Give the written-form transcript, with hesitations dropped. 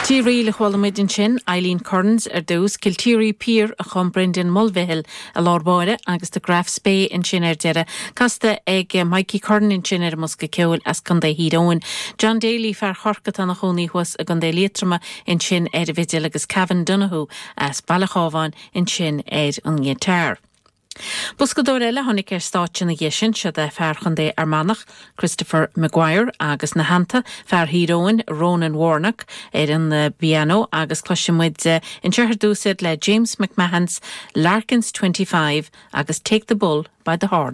Ríl a chuala muid ansin, Eileen Currans ar dtús, Kilteary Pier a chum Brendan Mulvihill i lár báire agus The Graffs Bay ansin ar deireadh, casta ag Mikey Curran ansin ar an mbosca ceoil as Contae Thír Eoghain. John Daly, fear Chorcaí atá ina chónaí thuas i gContae Liatroma ansin ar an bhfidil agus Cavan Donoghue as Baile Chábháin ansin ar an ngiotár. Boscadóir eile a tháinig ar stáitse ina dhiaidh sin, siod é fear Chontae Fhear Manach, Christopher Maguire agus ina theannta, fear Thír Eoghain, Ronan Warnock ar an bpianó agus cloisfidh muid anseo ar dtús iad le James McMahon's Larkin's 25 agus Take the Bull by the Horns.